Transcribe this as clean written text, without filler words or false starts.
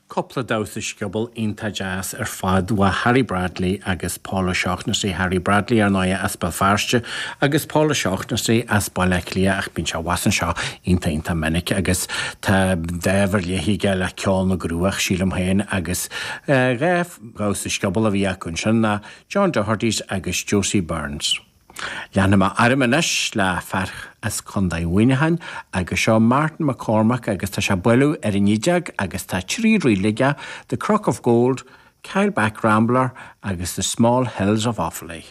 Cúpla damhsa scioból iontach deas ar fad uaidh Harry Bradley agus Paul O'Shaughnessy, Harry Bradley ar ndóighe as Béal Feirste agus Paul O'Shaughnessy as Baile Átha Cliath ach bíonn sé abhus anseo iontach iontach minic agus tá dáimh ar leith aige le ceol na gCruach sílim féin agus 2 dhamhsa scioból a bhí acu ansin ná John Doherty's agus Josie Burns. Leanfaidh mé orm anois le fear as Contae Mhuineacháin agus seo Martin McCormack agus tá sé ag bailiú ar an Fhídeog agus tá 3 ríl aige, The Crook of Gold, Kyleback Rambler agus The Small Hills of Offaly.